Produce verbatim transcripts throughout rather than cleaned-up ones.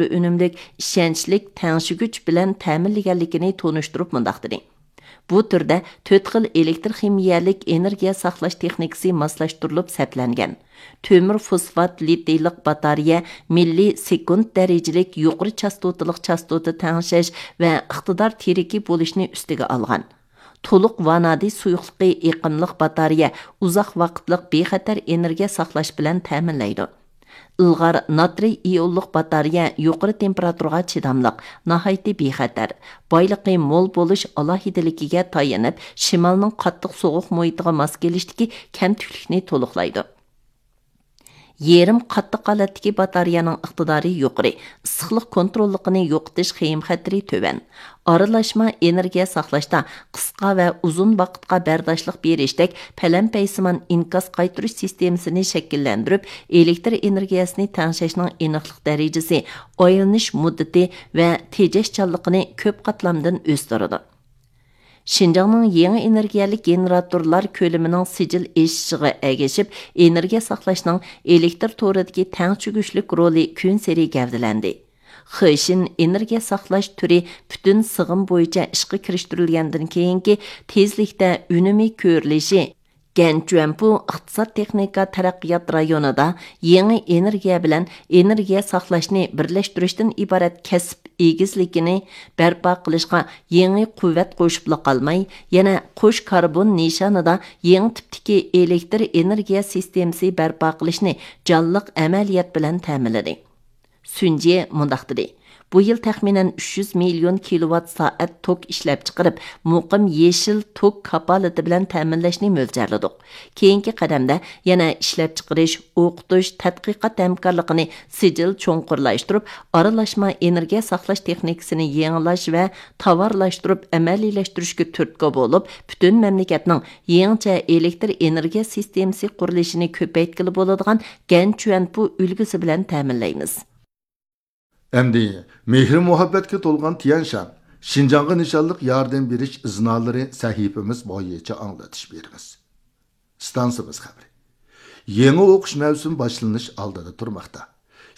ئۈنۈملۈك، ئىشەنچلىك تەڭشىگۈچ بىلەن تەمىنلىگەنلىكىنى تونۇشتۇرۇپ مۇنداق دېدى: بۇ تۈردە تۆت خىل ئېلېكتر خىمىيەلىك ئېنېرگىيە ساقلاش تېخنىكىسى ماسلاشتۇرۇلۇپ سەپلەنگەن. تۆمۈر فوسفات لىتىيلىق باتارېيە مىللىي سېكۇنت دەرىجىلىك يۇقىرى چاستوتىلىق چاستوتا تەڭشەش ۋە ئىقتىدار تىرىكى بولۇشنى ئۈستىگە ئالغان. تولۇق ۋانادى سۇيۇقلۇقى ئېقىملىق باتارېيە ئۇزاق ۋاقىتلىق بىخەتەر ئېنېرگىيە ساقلاش بىلەن تەمىنلەيدۇ. ئىلغار ناترىي ئىئونلۇق باتارېيە يۇقىرى تېمپېراتۇرىغا چىداملىق، ناھايىتى بىخەتەر، بايلىقى مول بولۇش ئالاھىدىلىكىگە تايىنىپ، شىمالنىڭ قاتتىق سوغۇق مۇھىتىغا ماس كېلىشتىكى كەمتۈكلۈكنى تولۇقلايدۇ. يېرىم قاتتىق ھالەتتىكى باتارېيەنىڭ ئىقتىدارى يۇقىرى، ئىسسىقلىق كونتروللۇقىنى يوقىتىش خېيىم خەتىرى تۆۋەن. ئارىلاشما ئېنېرگىيە ساقلاشتا قىسقا ۋە ئۇزۇن ۋاقىتقا بەرداشلىق بېرىشتەك پەلەمپەيسىمان ئىنكاس قايتۇرۇش سىستېمىسىنى شەكىللەندۈرۈپ، ئېلېكتر ئېنېرگىيەسىنى تەڭشەشنىڭ ئېنىقلىق دەرىجىسى، ئايلىنىش مۇددىتى ۋە تېجەشچانلىقىنى كۆپ قاتلامدىن ئۆستۈرىدۇ. شىنجاڭنىڭ يېڭى ئېنېرگىيەلىك گېنېراتورلار كۆلىمىنىڭ سىجىل ئېشىشىغا ئەگىشىپ، ئېنېرگىيە ساقلاشنىڭ ئېلېكتر تورىدىكى تەڭشىگۈچلۈك رولى كۈنسېرى گەۋدىلەندى. خېشىن ئېنېرگىيە ساقلاش تۈرى پۈتۈن سىغىم بويىچە ئىشقا كىرىشتۈرۈلگەندىن كېيىنكى تېزلىكتە ئۈنۈمى كۆرۈلۈشى، گەنچۈەنپۇ ئىقتىساد تېخنىكا تەرەققىيات رايونىدا يېڭى ئېنېرگىيە بىلەن ئېنېرگىيە ساقلاشنى بىرلەشتۈرۈشتىن ئىبارەت كەسىپ ئېگىزلىكىنى بەرپا قىلىشقا يېڭى قۇۋۋەت قوشۇپلا قالماي، يەنە قوش كاربون نىشانىدا يېڭى تىپتىكى ئېلېكتر ئېنېرگىيە سىستېمىسى بەرپا قىلىشنى جانلىق ئەمەلىيەت بىلەن تەمىنلىدى. سۈنجې مۇنداق دېدى: بۇ يىل تەخمىنەن ئۈچ يۈز مىليون كىلوۋات سائەت توك ئىشلەپچىقىرىپ، مۇقىم يېشىل توك كاپالىتى بىلەن تەمىنلەشنى مۆلچەرلىدۇق. كېيىنكى قەدەمدە يەنە ئىشلەپچىقىرىش، ئوقۇتۇش، تەتقىقات ھەمكارلىقىنى سىجىل چوڭقۇرلاشتۇرۇپ، ئارىلاشما ئېنېرگىيە ساقلاش تېخنىكىسىنى يېڭىلاش ۋە تاۋارلاشتۇرۇپ ئەمەلىيلەشتۈرۈشكە تۈرتكە بولۇپ، پۈتۈن مەملىكەتنىڭ يېڭىچە ئېلېكتر ئېنېرگىيە سىستېمىسى قۇرۇلۇشىنى كۆپەيتكىلى بولىدىغان گەنچۈەنپۇ ئۈلگىسى بىلەن تەمىنلەيمىز. ئەمدى مېھرى مۇھەببەتكە تولغان تيەنشان، شىنجاڭغا نىشانلىق ياردەم بېرىش ئىزنالىرى سەھىپىمىز بويىچە ئاڭلىتىش بېرىمىز. ئىستانسىمىز خەۋىرى. يېڭى ئوقۇش مەۋسۇمى باشلىنىش ئالدىدا تۇرماقتا.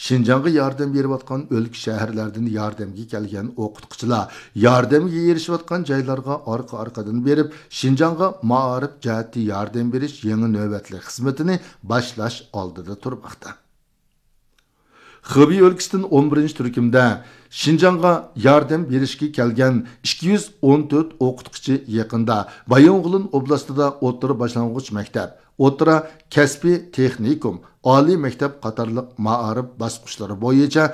شىنجاڭغا ياردەم بېرىۋاتقان ئۆلكە، شەھەرلەردىن ياردەمگە كەلگەن ئوقۇتقۇچىلار ياردەمگە ئېرىشىۋاتقان جايلارغا ئارقا-ئارقىدىن بېرىپ، شىنجاڭغا مائارىپ جەھەتتە ياردەم بېرىش يېڭى نۆۋەتلىك خىزمىتىنى باشلاش ئالدىدا تۇرماقتا. خېبېي ئۆلكىسىدىن ئون بىرىنچى تۈركۈمدە شىنجاڭغا ياردەم بېرىشكە كەلگەن ئىككى يۈز ئون تۆت ئوقۇتقۇچى يېقىندا بايىنغولىن ئوبلاستىدا ئوتتۇرا باشلانغۇچ مەكتەپ، ئوتتۇرا كەسپىي تېخنىكوم، ئالىي مەكتەپ قاتارلىق مائارىپ باسقۇچلىرى بويىچە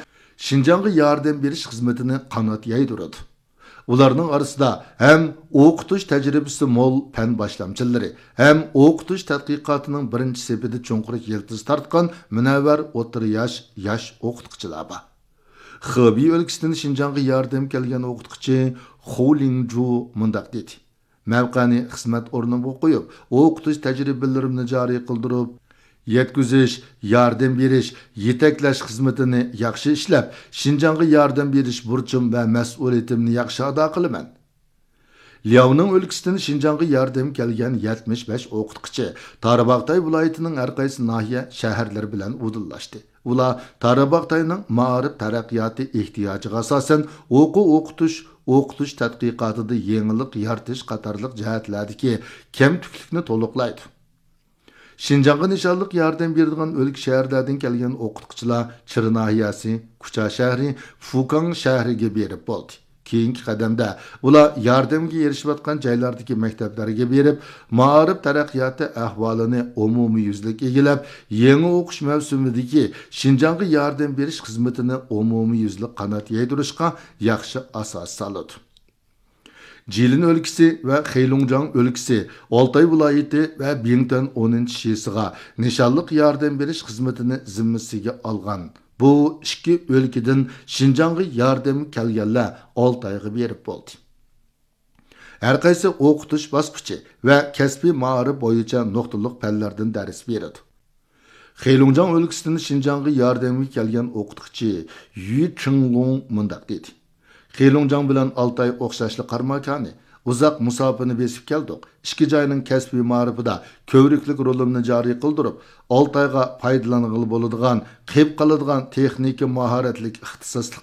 شىنجاڭغا ياردەم بېرىش خىزمىتىنى قانات يايدۇرىدۇ. ئۇلارنىڭ ئارىسىدا ھەم ئوقۇتۇش تەجرىبىسى مول پەن باشلامچىلىرى، ھەم ئوقۇتۇش تەتقىقاتىنىڭ بىرىنچى سېپىدە چوڭقۇر يىلتىز تارتقان مۇنەۋۋەر ئوتتۇرا ياش، ياش ئوقۇتقۇچىلار بار. خېبېي ئۆلكىسىدىن شىنجاڭغا ياردەم كەلگەن ئوقۇتقۇچى خۇ لىڭجۇ مۇنداق دېدى: مەۋقەنى خىزمەت ئورنۇمغا قويۇپ، ئوقۇتۇش تەجرىبىلىرىمنى جارى قىلدۇرۇپ، يەتكۈزۈش، ياردەم بېرىش، يېتەكلەش خىزمىتىنى ياخشى ئىشلەپ، شىنجاڭغا ياردەم بېرىش بۇرچۇم ۋە مەسئۇلىيىتىمنى ياخشى ئادا قىلىمەن. لياۋنىڭ ئۆلكىسىدىن شىنجاڭغا ياردەم كەلگەن يەتمىش بەش ئوقۇتقۇچى تارباغاتاي ۋىلايىتىنىڭ ھەرقايسى ناھىيە، شەھەرلىرى بىلەن ئۇدۇللاشتى. ئۇلار تارباغاتاينىڭ مائارىپ تەرەققىياتى ئېھتىياجىغا ئاساسەن، ئوقۇ ئوقۇتۇش، ئوقۇتۇش تەتقىقاتىدا يېڭىلىق يارىتىش قاتارلىق جەھەتلەردىكى كەمتۈكلۈكنى تولۇقلايدۇ. شىنجاڭغا نىشانلىق ياردەم بېرىدىغان ئۆلكە، شەھەرلەردىن كەلگەن ئوقۇتقۇچىلار چىرا ناھىيەسى، كۇچا شەھىرى، فۇكاڭ شەھىرىگە بېرىپ بولدى. كېيىنكى قەدەمدە ئۇلار ياردەمگە ئېرىشىۋاتقان جايلاردىكى مەكتەپلەرگە بېرىپ، مائارىپ تەرەققىياتى ئەھۋالىنى ئومۇميۈزلۈك ئىگىلەپ، يېڭى ئوقۇش مەۋسۇمىدىكى شىنجاڭغا ياردەم بېرىش خىزمىتىنى ئومۇميۈزلۈك قانات يايدۇرۇشقا ياخشى ئاساس سالىدۇ. جىلىن ئۆلكىسى ۋە خېيلۇڭجياڭ ئۆلكىسى، ئالتاي ۋىلايىتى ۋە بىڭتۈەن ئونىنچى شىسىغا نىشانلىق ياردەم بېرىش خىزمىتىنى زىممىسىگە ئالغان بۇ ئىككى ئۆلكىدىن شىنجاڭغا ياردەمگە كەلگەنلەر ئالتايغا بېرىپ بولدى. ھەرقايسى ئوقۇتۇش باسقۇچى ۋە كەسپىي مائارىپ بويىچە نۇقتىلىق پەنلەردىن دەرس بېرىدۇ. خېلۇڭجاڭ ئۆلكىسىدىن شىنجاڭغا ياردەمگە كەلگەن ئوقۇتقۇچى يۈ چىڭلۇڭ مۇنداق دېدى: خېلۇڭجاڭ بىلەن ئالتاي ئوخشاشلا قارىماكانى، ئۇزاق مۇساپىنى بېسىپ كەلدۇق. ئىككى جاينىڭ كەسپىي مائارىپىدا كۆۋرۈكلۈك رولىمنى جارى قىلدۇرۇپ، ئالتە ئايغا پايدىلانغىلى بولىدىغان، قېلىپ قالىدىغان تېخنىكا ماھارەتلىك ئىختىساسلىق